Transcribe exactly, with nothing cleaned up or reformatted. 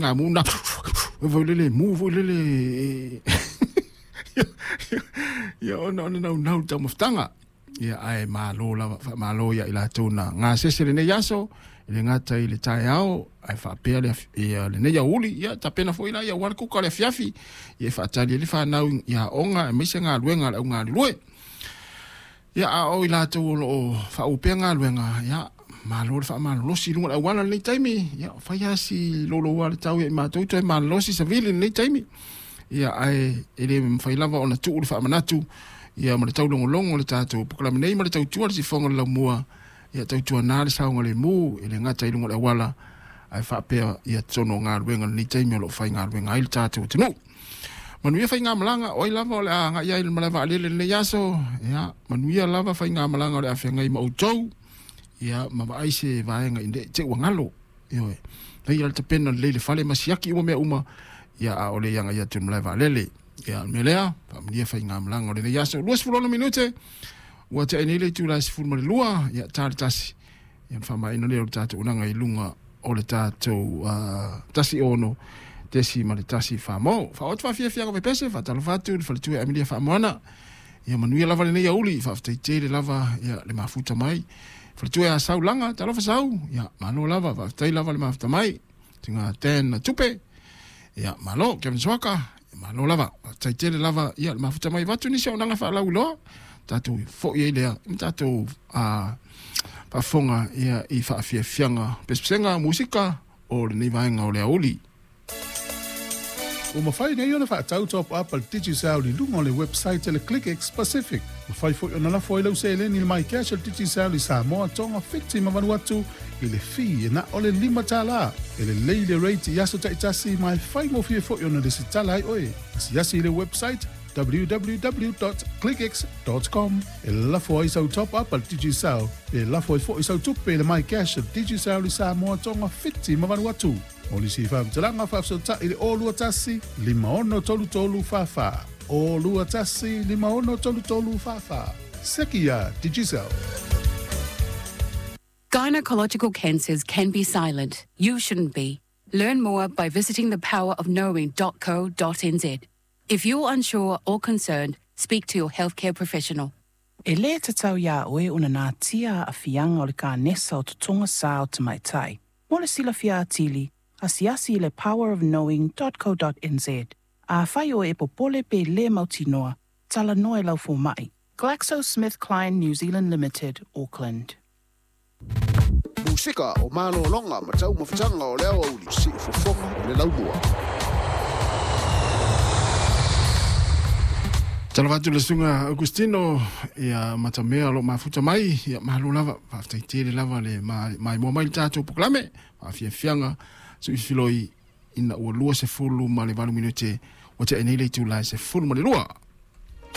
Ngamu na foi lele mu foi lele ia ona ona naunau le taumafataga. Ia ae malo lava faamalo ia i latou na gasese lenei aso e le gata i le taeao ae faapea le ia lenei aoauli ia tapena foi la ia aua le kuka o le afiafi ia e faatali ai le fanau i aoga aemaise galuega a le augalulue. Ia a o i latou o loo faaupea galuega ia malo le faamalolosi i luga o le auala i lenei taimi ia fai lava si louloua le tau ia i matou toe malolosi savili i lenei taimi. Ia ae e le mafai lava ona tuu le faamanatu ia ma le taulogologo o le tatou polokalame nei ma le tautua le sifoga o le laumua ia tautuana le saogalemu e le gata i luga o le auala ae faapea ia totonu o galuega i lenei taimi o lo o faigaluega ai le tatou atunuu. Manuia faigamalaga o ai lava o le a agai ai i le malae vaalele i lenei aso ia manuia lava faigamalaga o le a feagai ma outou ia ma vaai se vaega i te ua galo. Ioe, faia le tapena lelei le fale ma siaki uma mea uma ia a o le agai atu i le malae vaalele. Ia o le mea lea, faamanuia faigamalaga o lenei aso. Luasefulu minute ua tea ai nei le itula e sefulu ma le lua ia ta le tasi ia ona faamaeaina lea o le tatou unaga i luga o le tatou uh, tasi ono tesi ma le tasi famo. Faaoo atu faafiafiaga pepese faatalofa atu i le faletua ia Amelia Faamoana. Ia manuia lava lenei aoauli faafetai tele lava ia le mafuta mai. Faletua ia Saulaga, talofa Sau, ia malo lava faafetai lava le mafuta mai. Tinga ten tupe. Ia malo Kevin Swaka, ia malo lava faafetai tele lava ia le mafuta mai vatu nisi o naga faalauiloa. Tatou foi ai lea ma tatou uh, faafofoga ia i faafiafiaga pesepesega musika o lenei vaega o le aoauli. Ua mafai nei ona faatau top up a le Digicel i luga o le website a le ClickX Pacific. Mafai foi ona lafo ai lau seleni i le MyCash a le Digicel i Samoa, Tonga, Fiti ma Vanuatu i le fee e na o le lima tala. E lelei le rate i aso taitasi ma e faigofie foi ona lesitala ai oe. Asiasi i le website w w w dot clickx dot com e lafo ai sau top up a le Digicel pe lafo ai foi sau tupe i le MyCash a le Digicel i Samoa, Tonga, Fiti ma Vanuatu. Mo nisi faamatalaga faafesootai i le zero two one five six three three four four zero two one five six three three four four. Seki ia Digicel. Gynecological cancers can be silent. You shouldn't be. Learn more by visiting the power of knowing dot co dot n z. If you're unsure or concerned, speak to your healthcare professional. E lē tatau iā oe ona natia aafiaga o le kanesa o totoga sā o tamaitai. Mo le silafia atili, asiasi i le powerofknowing dot co dot n z. Afai oe e popole pe lē mautinoa, talanoa i lau fomaʻi. GlaxoSmithKline New Zealand Limited, Auckland. Musika o malologa ma taumafataga o le aoauli siufofoga o le laumua. Talofa atu le susuga Augustino ia matamea o loo mafuta mai ia malo lava faafetai tele lava le maimoa mai le tatou polokalame faafiafiaga suifiloi ina ua lua sefulu ma le valu minute ua tea nei le itula e sefulu ma le lua.